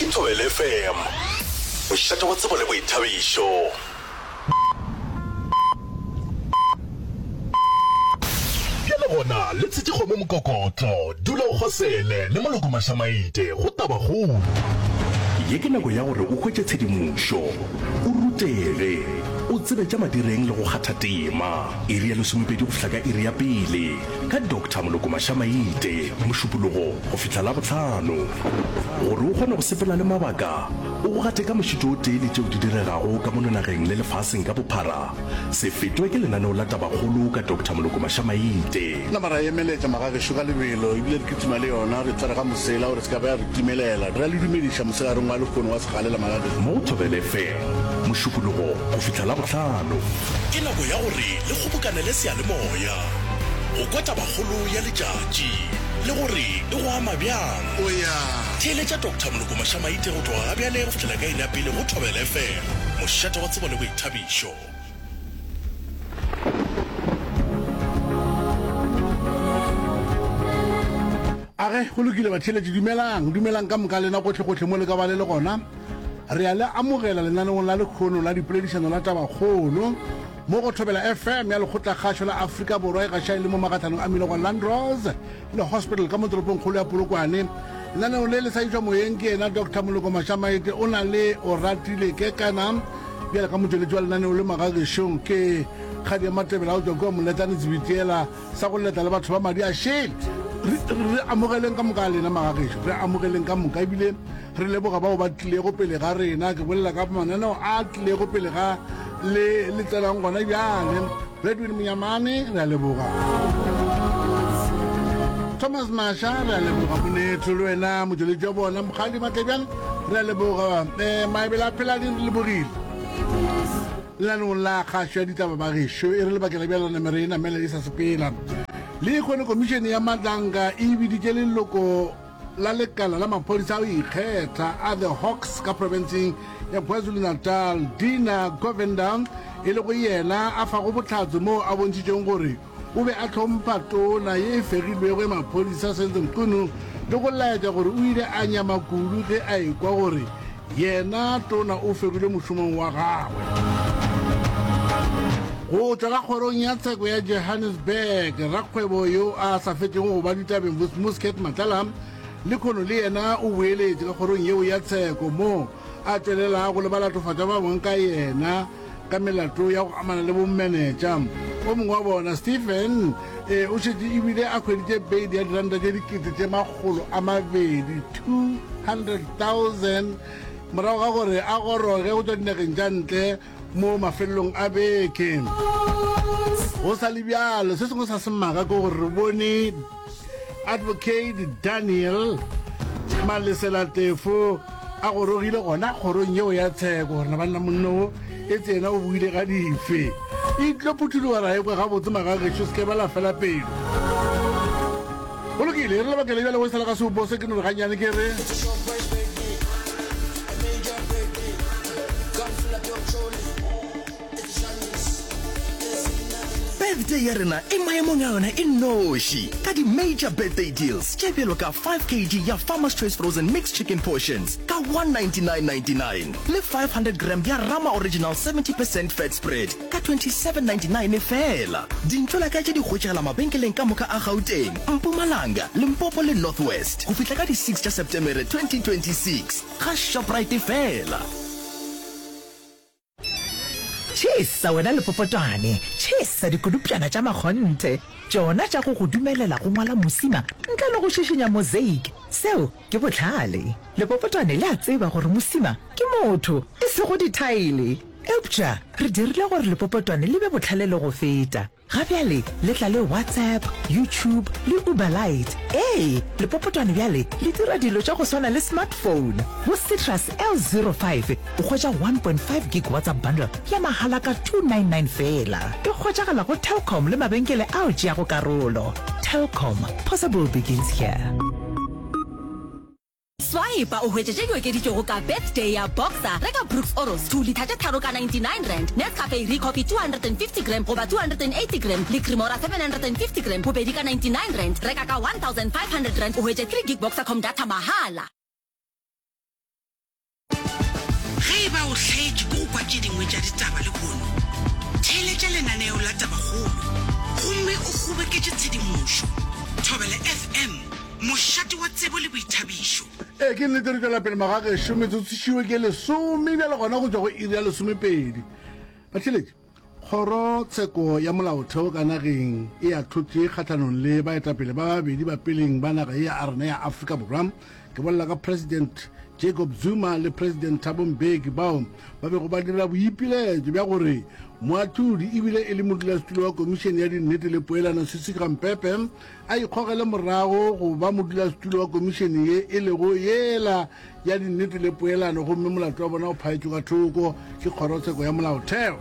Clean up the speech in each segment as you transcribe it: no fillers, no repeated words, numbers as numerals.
Ke Thobela FM, mošate wa tsebo le boithabišo. Bjale gona le tshetše kgomo mokokotlo, dula o kgosele le Moloko Mašamaite go Tabakgolo. Ye ke nako ya gore o hwetše tshedimošo, o rutege, o tsebe tša madireng le go kgatha tema. Iri ya lesomepedi go fihla ka iri ya pele ka Doctor Moloko Mašamaite, Mošupologo go fihla Labohlano. Gore o kgone go sepela le mabaka, o go gate ka mošito o tee le tšeo di diregago ka mono nageng le lefaseng ka bophara, se fetwe ke lenaneo la Tabakgolo ka Doctor Moloko Mašamaite. Nama ra emeletša magagešo ka lebelo, ebile re kitima le yona, re tsware ga mosela gore se ka ba ya re timelela. Re a le dumediša mosegareng wa lehono wa segalela magagešo. Mo go Thobela FM, Mošupologo go fihla Labohlano. Ke nako ya gore le kgobokanele seyalemoya go kwa tabakgolo ya letšatši le gore e go ama bjang. Theeletša Doctor Moloko Mašamaite go tloga gabjale go fihlela ka iri ya pele go Thobela FM, mošate wa tsebo le boithabišo. Age, go lokile batheeletši, dumelang, dumelang ka moka lena gohlegohle mo le ka ba le le gona. Re a le amogela lenaneong la lekhono la dipoledišano la Tabakgolo mo go Thobela FM ya Lekgotlakgašo la Afrika Borwa e gaša e le mo magatlhanong a mmila gwa Landros le Hospital ka mo toropongkgolo ya Polokwane. Lenaneo le le sa išwa moyeng ke yena Doctor Moloko Mašamaite o na le Oratile Kekana bjale ka motšweletši wa lenaneo le magagešong ke Kgadi ya Matebele a go tšwa kua Moletlane Tsebitiela sa go leta le batho ba madi a šele. Re, re amogeleng ka moka a lena magagešo, re amogeleng ka moka ebile re leboga bao ba tlilego pele ga rena. Ke bolela ka mananeo a tlilego pele ga le le tsenang gona bjale. Redwin Monyamane, re a leboga. Thomas Masha, re a leboga. Monetho le wena motšweletši wa bona Mokgadi Matlebjane, re a leboga. Um Maebele a Pheladi, re lebogile. Lenaneong la kgašo ya ditaba ba gešo e re lebakela bjalo namere e namela e sa sepela. Le kgone komišene ya Madlanga e biditše leloko la lekala la maphodisa a go ikgetha a The Hawks ka profenseng ya KwaZulu-Natal Dina Govender e lego yena a fago bohlatse moo a bontšhitšeng gore O be a hlompha tona ye e fegilwego ya maphodisa Senzo Mchunu le go laetša gore o ile a nyama kudu ge a ekwa gore yena tona o fegilwe mošomong wa gagwe. Go tšwa ka kgorong ya tsheko ya Johannesburg, rakgwebo yo a sa fetšego go ba ditabeng Vusimuzi Cat Matlala lekhono le yena o boeletše ka kgorong yeo ya tsheko moo a tšwelelago le balatofatšwa ba bangwe ka yena ka melato ya go amana le bommenetša. O mongwe wa bona, Stephen, e, o šetše ebile a hweditše beili ya diranta tše 200,000, 200,000, morago ga gore a goroge go tšwa dinageng tša ntle mo mafelelong a beke. Go sa le bjalo, se sengwe sa semaka ke gore re bone Advocate Daniel Malesela Tefo a gorogile gona kgorong yeo ya tsheko gore na banna monno wo e tse yena o buile ga dife. E tlo phuthuloga ra ekwa gabotse magagešo se ke ba la fela pelo. Go lokile, re lebakele bjale go sala ka seopo se ke no re gannyane ke re. Birthday ya rena e maemong a yona e nnoši ka di-major birthday deals tše bjalo ka 5 kg ya Farmer's Choice Frozen Mixed Chicken Portions ka 199.99 le 500 gram ya Rama Original 70 percent Fat Spread ka 27.99 feela. Dintlo-la-ka tše di hwetšagala mabenkeleng ka moka a Gauteng, Mpumalanga, Limpopo le North West go fihla ka di 6 tša Setemere 2026 ga Shoprite feela. Tšhesa wena lepopotwane, tšhesa dikodupšana tša makgonthe, tšona tša go go dumelela go ngwala mosima ntle le go šišinya mosaic. Seo ke bohlale. Lepopotwane le a tseba gore mosima ke motho, e sego dithaele. Eupša re dirile gore lepopotwane le be bohlale le go feta. Ga bjale le tla le WhatsApp, YouTube le Uber Lite. Ee, lepopotwane bjale le dira dilo tša go swana le smartphone. Go Citrus L05 o hwetša 1.5 gig WhatsApp bundle ya mahala ka 299 feela. E hwetšagala go Telkom le mabenkele ao tšeago karolo. Telkom, possible begins here. Swipa o hwetše tše di okeditšwego ka Birthday ya Boxer. Reka Brooks Oros 2 litha tše tharo ka R99, Nescafe Recoffee 250 gram goba 280 gram le Cremora 750 gram bobedi ka R99. Reka ka R1500 o hwetše 3 gig Boxercom data mahala. Ge e ba o hlaetšwe ke go kwa tše dingwe tša ditaba lehono, theeletša lenaneo la Tabakgolo gomme o kgoboketše tshedimošo. Thobela FM, mošate wa tsebo le boithabišo. Ee, ke nnete re tšwela pele magagešo, metsotso ke lesome bjale gona go tšwa go iri ya lesomepedi. Batheeletši, Kgoro tsheko ya molaotheo ka nageng e ahlotše kgahlanong le baetapele ba babedi ba peleng ba naga ye ya rena ya Afrika Borwa. Ke bolela ka President Jacob Zuma le President Thabo Mbeki bao ba bego ba dira boipiletšo bja gore moahlodi ebile e le modulasetulo wa Komišene ya Dinnete le Poelano Sisi Khampepe a ikgogele morago go ba modulasetulo wa komišene ye e lego yela ya dinnete le poelano gomme molato wa bona o phaetšwe ka thoko ke kgorotsheko ya molaotheo.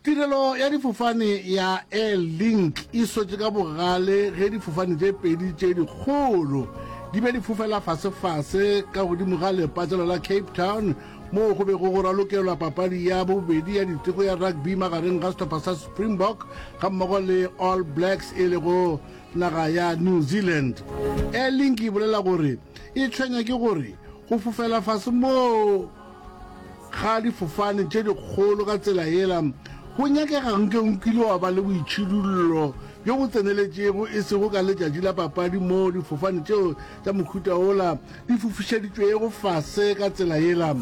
Tirelo ya difofane ya Airlink e sotše ka bogale ge difofane tše pedi tše dikgolo di be di fofela fasefase ka godimo ga lepatlelo la Cape Town moo go bego go ralokelwa papadi ya bobedi ya diteko ya rugby magareng ga sehlopha sa Springbok gammogo le All Blacks e lego naga ya New Zealand. Airlink e bolela gore e tshwenya ke gore go fofela fase moo ga difofane tše dikgolo ka tsela yela go nyakega nke o kile wa ba le boitšhidullo bjo bo tseneletšego e sego ka letšatši la papadi moo difofane tšeo tša mohuta wola di fofišeditšwego fase ka tsela yela.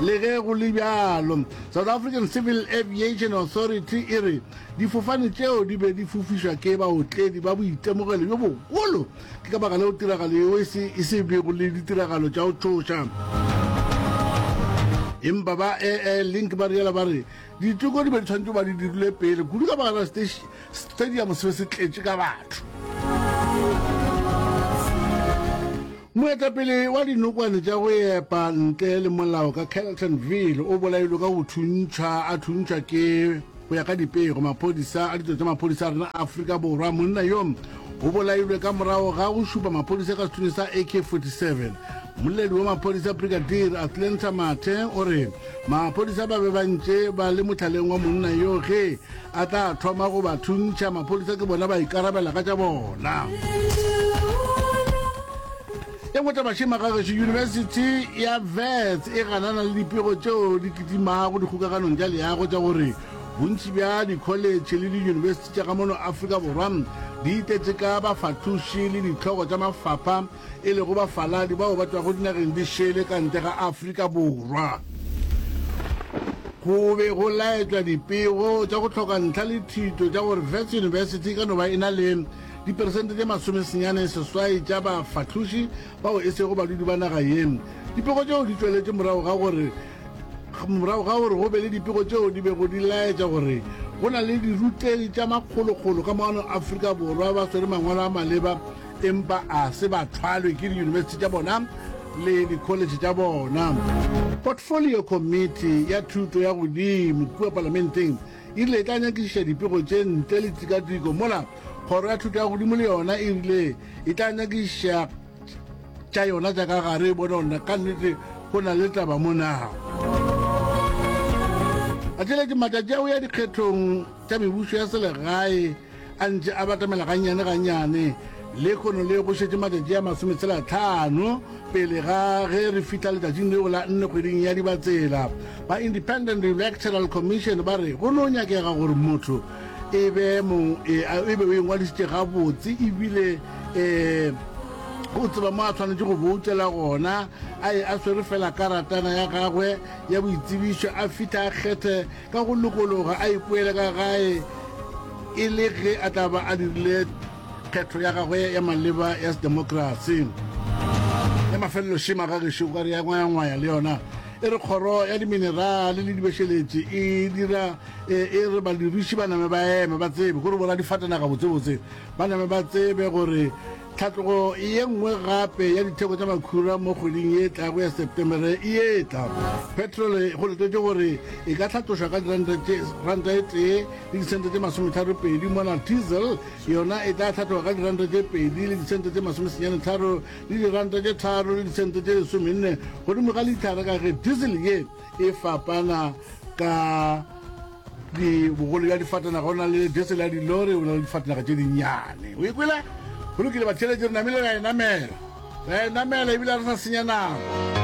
Le ge go le bjalo, South African Civil Aviation Authority e re difofane tšeo di be di fofišwa ke baotledi ba boitemogelo bjo bogolo, ke ka baka leo tiragalo yeo e se e se bego le ditiragalo tša go tšhoša. Empa ba Air Link ba rialo ba re diteko di be di tshwanetše go ba di dirilwe pele kudu ka baka la Stadium se be se tletše ka batho. Moetapele wa dinokwane tša go epa ntle le molao ka Carltonville o bolailwe ka go thuntšhwa a thuntšhwa ke go ya ka dipego maphodisa a ditso tša maphodisa a rena Afrika Borwa. Monna yo o bolailwe ka morago ga go šupa maphodisa ka sethunya sa AK-47. Mmoledi wa maphodisa Brigadier Atlanta Mathe o re maphodisa ba be ba ntše ba le mohlaleng wa monna yo ge a tla thoma go ba thuntšha. Maphodisa ke bona ba ikarabela ka tša bona. E nngwe taba šema ga gešo, Yunibesithi ya Wits e ganana le dipego tšeo di kitimago dikgokaganong tša leago tša gore bontši bja dikholetšhe le diyunibesithi tša ka mono Afrika Borwa di itetše ka bafahloši le dihlogo tša mafapha e lego bafaladi bao ba tšwago dinageng di šele ka ntle ga Afrika Borwa. Go be go laetšwa dipego tša go hloka ntlha le thito tša gore Wits University e ka no ba e na le diperesente tše masomesenyane-seswai tša bafahloši bao e sego badudi ba naga ye. Dipego tšeo di tšweletše morago ga gore morago ga gore go be le dipego tšeo di bego di laetša gore go na le dirutegi tša makgolokgolo ka mono Afrika Borwa ba swere mangwalo a maleba empa a se ba thwalwe ke diyunibesithi tša bona le dikholetšhe tša bona. Portfolio Committee ya Thuto ya Godimo kua Palamenteng e rile e tla nyakišiša dipego tše ntle le tikatiko, mola Kgoro ya Thuto ya Godimo le yona e rile e tla nyakišiša tša yona tša ka gare e bone gore ka nnete go na le taba mo na. Batheeletši, matšatši a go ya dikgethong tša mebušo ya selegae a ntše a batamela gannyane-gannyane. Lehono le go šetše matšatši a masometshela-tlhano pele ga ge re fihla letšatšing leo la nne kgweding ya Dibatsela. Ba Independent Electoral Commission ba re go no nyakega gore motho e be mong e, e be o ingwadišitše gabotse ebile um o tseba mo a swanetše go boutela gona, a ye a swere fela karatana ya gagwe ya boitsebišo a fihla a kgethe ka go lokologa a ipoele ka gae e le ge a tla ba a dirile kgetho ya gagwe ya maleba ya sedemokrasi. Ya mafelelo šema ga gešo ka re ya ngwayangwaya le yona e re kgoro ya diminerale le dibešeletši e dira e, e re badiriši ba name ba eme ba tsebe gore bora difatanaga botsebotse ba name ba tsebe gore Tlhatlogo ye nngwe gape ya ditheko tša makhura mo kgweding ye tlago ya Septemere e etla. Petrole go letetšwe gore e ka hlatlošwa ka diranta tše ranta e tee le disente tše masometharopedi mola diesel yona e tla hlatloga ka diranta tše pedi le disente tše masomesenyanetharo le diranta tše tharo le disente tše lesomenne godimo ga lithara ka ge diesel ye e fapana ka Di bogolo bja difatanaga, o na le diesel ya dilori, o na le difatanaga tše dinnyane. O ikwele? Go lokile, batheeletši, re namile ra e namela. Ra e namela ebile re sa senya nako.